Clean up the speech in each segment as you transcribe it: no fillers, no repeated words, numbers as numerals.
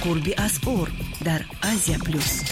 Қурби асъор дар Азия Плюс.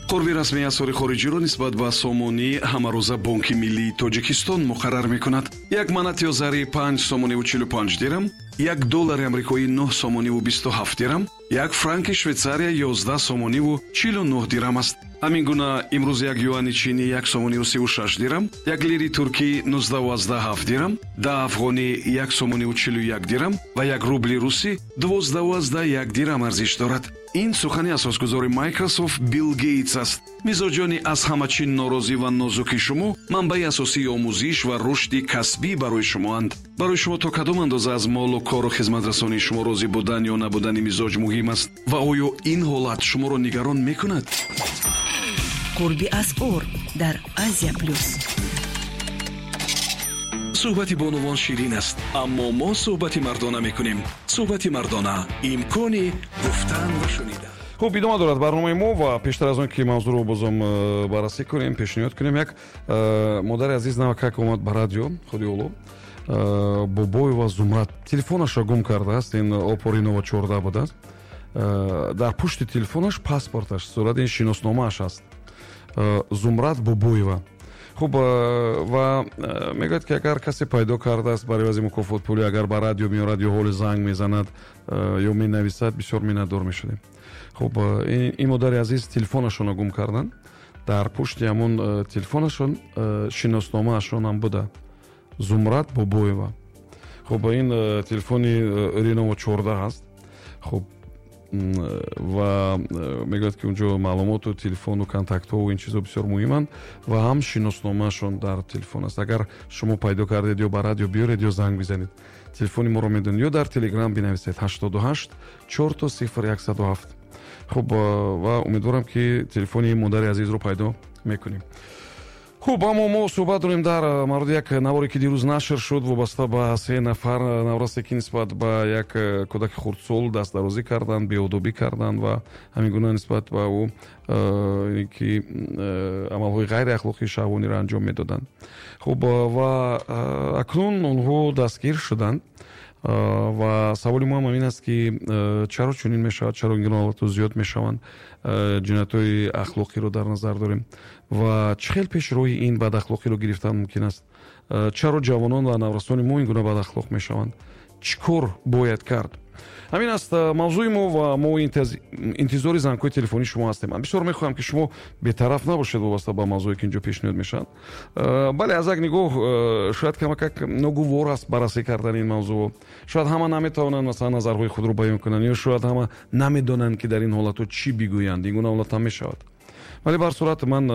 Қурби расмии асъори хориҷиро нисбат ба сомонӣ ҳамарӯза Бонки миллии Тоҷикистон муқаррар мекунад. Як манат ё зари 5 сомониву 45 дирам, як доллари амрикоӣ 9 сомониву 27 дирам, як франки Швейтсария 11 сомониву 49 дирам аст. Ҳамин гуна имрӯз як юани чинӣ 1 сомониву 36 дирам, як лири туркӣ 19,7 дирам, 10 афғонӣ 1 сомониву 41 дирам ва як рубли русӣ 12,1 дирам арзиш дорад. Ин сухани асосгузори Microsoft Билл Гейтс аст. Мизоҷони аз ҳама чӣ норозӣ ва нозуки шумо манбаи асосии омӯзиш ва рушди касбӣ барои шумоанд. Барои шумо то кадом андоза аз молу кору хизматрасонии шумо розӣ будан ё набудани мизоҷ муҳим аст ва оё ин ҳолат шуморо нигарон мекунад? Қурби асъор дар Азия Плюс. Суҳбати бонувон ширин аст, аммо мо суҳбати мардона мекунем. Суҳбати мардона — имкони гуфтан ва шунидан. Хуб, идома дорад барномаи мо ва пештар аз он ки мавзӯъро бозам баррасӣ кунем, пешниҳод кунем, як модари азиз навакак омад ба радио, худи оло Бобоева Зумрад телефонашро гум кардааст. Ин Оппо Ренова 14 будааст. Дар пушти телефонаш паспорташ, сурати ин шиносномааш аст, Зумрад Бобоева. Хуб, ва мегӯяд, ки агар касе пайдо кардааст, бар ивази мукофотпулӣ агар ба радио меорад ё ҳоли занг мезанад ё менависад, бисёр миннатдор мешудем. Хуб, ин модари азиз телефонашонро гум карданд. Дар пушти ҳамон телефонашон шиносномаашонам буда, Зумрад Бобоева. Хуб, ин телефони Ренова 14 аст. Хуб, ва мегӯяд, ки унҷо маълумоту телефону контактҳову ин чизо бисёр муҳиманд ва ҳам шиносномаашон дар телефон аст. Агар шумо пайдо кардед, ё ба радио биёред, ё занг бизанед, телефони моро медонед, ё дар Телеграм бинависед: 88 000 107. Хуб, ва умедворам, ки телефони модари азизро пайдо мекунем. Хуб, аммо мо суҳбат дорем дар мавриди як наворе, ки дирӯз нашр шуд, вобаста ба се нафар наврасе, ки нисбат ба як кӯдаки хурдсол дастдарозӣ карданд, беодобӣ карданд ва ҳамин гуна нисбат ба ӯ ки амалҳои ғайриахлоқии шаҳвониро анҷом медоданд. Хуб, ва акнун онҳо дастгир шуданд ва саволи мо ҳам ин аст, ки чаро чунин мешавад, чаро ин гуна ҳолатҳо зиёд мешаванд, ҷиноятҳои ахлоқиро дар назар дорем, ва чӣ хел пеш роҳи ин бадахлоқиро гирифтан мумкин аст? Чаро ҷавонон ва наврасони мо ин гуна бадахлоқ мешаванд? Чӣ кор бояд кард? Ҳамин аст мавзӯи мо ва мо интизори зангҳои телефонии шумо ҳастем. Ман бисёр мехоҳам, ки шумо бетараф набошед вобаста ба мавзӯе, ки инҷо пешниҳод мешавад. Бале, аз як нигоҳ шояд камакак ногувор аст баррасӣ кардани ин мавзӯъ. Шояд ҳама наметавонанд, масалан, назарҳои худро баён кунанд ё шояд ҳама намедонанд, ки дар ин ҳолатҳо чӣ бигӯянд. Ин гуна ҳолат ҳам мешавад. Вале ба ҳар сурат ман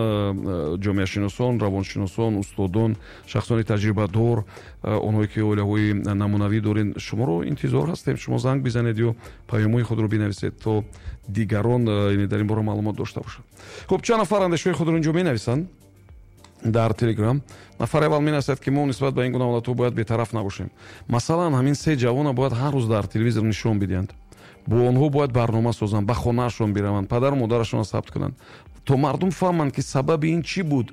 ҷомеашиносон, равоншиносон, устодон, шахсони таҷрибадор, онҳое ки оилаҳои намунавӣ доред, шуморо интизор ҳастем. Шумо занг бизанед ё паёмҳои худро бинависед, то дигарон дар ин бора маълумот дошта бошанд. Хуб, чанд нафар андешаҳои худро инҷо менависанд дар Телеграм. Нафари аввал менависад, ки мо нисбат ба ин гуна ҳолатҳо бояд бетараф набошем. Масалан, ҳамин се ҷавона бояд ҳар рӯз дар телевизор нишон бидиҳанд, бо онҳо бояд барнома созанд, ба хонаашон бираванд, падару модарашонро сабт кунанд, то мардум фаҳманд, ки сабаби ин чӣ буд: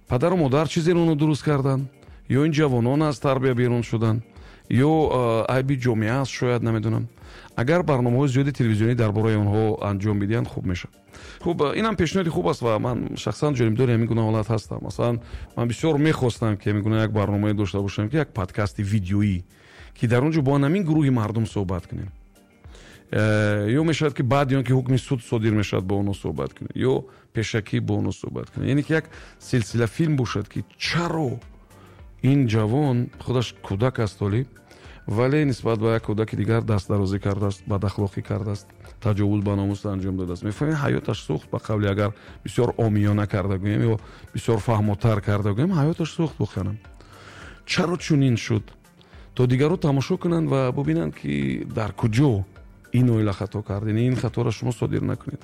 падару модар чизеро онро дуруст карданд ё ин ҷавонон аз тарбия берун шуданд, ё айби ҷомеа аст шояд, намедонам. Агар барномаҳои зиёди телевизионӣ дар бораи онҳо анҷом бидиҳанд, хуб мешавад. Хуб, инам пешниҳоди хуб аст ва ман шахсан ҷонибдори ҳамин гуна ҳолат ҳастам. Масалан, ман бисёр мехостам, ки ҳамин гуна як барномае дошта бошам, ки як подкасти видеоӣ, ки дар он ҷо бо ҳамин гурӯҳи мардум суҳбат кунем, ё мешавад, ки баъди он ки ҳукми суд содир мешавад, бо онҳо суҳбат кунем, ё пешакӣ бо онҳо суҳбат кунем, яъне ки як силсила филм бошад, ки чаро ин ҷавон худаш кӯдак аст ҳолӣ, вале нисбат ба як кӯдаки дигар дастдарозӣ кардааст, бадахлоқӣ кардааст, таҷовуз ба номус анҷом додааст. Мефаҳмед, ҳаёташ сӯхт. Ба қавли агар бисёр омиёна карда гӯем ё бисёр фаҳмотар карда гӯем, ҳаёташ сӯхт воқеан. Чаро чунин шуд, то дигарро тамошо кунанд ва бубинанд, ки дар куҷо ин оила хато кард, яъне ин хаторо шумо содир накунед.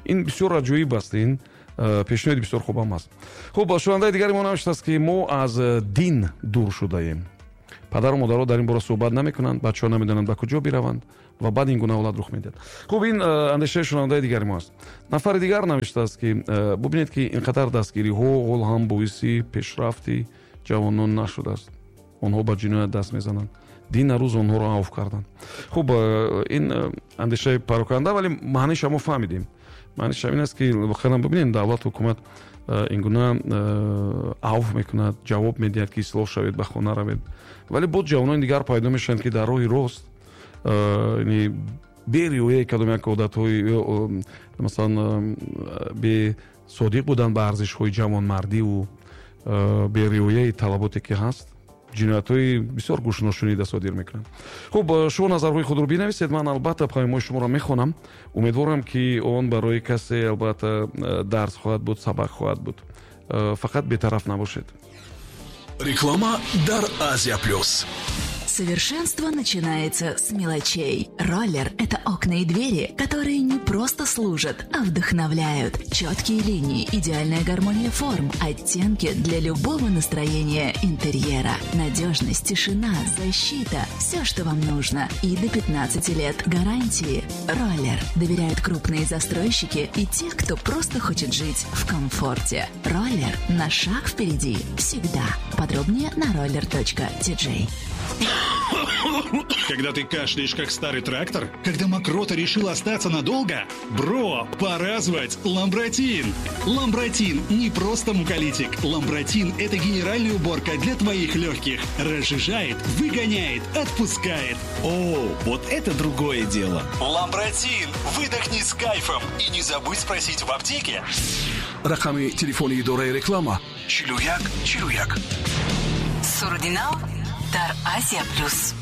Ин бисёр аҷоиб аст, ин пешниҳоди бисёр хубам аст. Хуб, шунавандаи дигари мо навиштааст, ки мо аз дин дур шудаем, падару модаро дар ин бора суҳбат намекунанд, бачаҳо намедонанд, ба куҷо бираванд ва баъд ин гуна ҳолат рух медиҳад. Хуб, ин андешаи шунавандаи дигари мо аст. Нафари дигар навиштааст, ки бубинед, ки ин қадар дастгириҳо ҳол ҳам боиси пешрафти ҷавонон нашудааст, онҳо ба ҷиноят даст мезананд. Дина рӯз онҳоро авф карданд. Хуб, ин андешаи пароканда, вале маъниша мо фаҳмидем. Маъниша ин аст, ки воқеан бибинем, давлат, ҳукумат ин гуна авф мекунад, ҷавоб медиҳад, ки ислоҳ шавед, ба хона равед, вале боз ҷавонони дигар пайдо мешаванд, ки дар роҳи рост бериояи кадом як одатҳои, масалан, бесодиқ будан ба арзишҳои ҷавонмардиву бериояи талаботе ки ҳаст, ҷиноятҳои бисёр гӯшношунида содир мекунанд. Хуб, шумо назарҳои худро бинависед, ман албатта паёмҳои шуморо мехонам. Умедворам, ки он барои касе албатта дарс хоҳад буд, сабақ хоҳад буд. Фақат бетараф набошед. Реклама дар Азия Плюс. Совершенство начинается с мелочей. Роллер – это окна и двери, которые не просто служат, а вдохновляют. Четкие линии, идеальная гармония форм, оттенки для любого настроения интерьера. Надежность, тишина, защита – все, что вам нужно. И до 15 лет гарантии. Роллер. Доверяют крупные застройщики и те, кто просто хочет жить в комфорте. Роллер на шаг впереди всегда. Подробнее на roller.tj. Когда ты кашляешь, как старый трактор? Когда мокрота решила остаться надолго? Бро, пора звать Ламбратин! Ламбратин не просто муколитик. Ламбратин – это генеральная уборка для твоих легких. Разжижает, выгоняет, отпускает. О, вот это другое дело. Ламбратин! Выдохни с кайфом. И не забудь спросить в аптеке. Рақами телефони идораи реклама 41 41. Суруди нав дар Азия Плюс.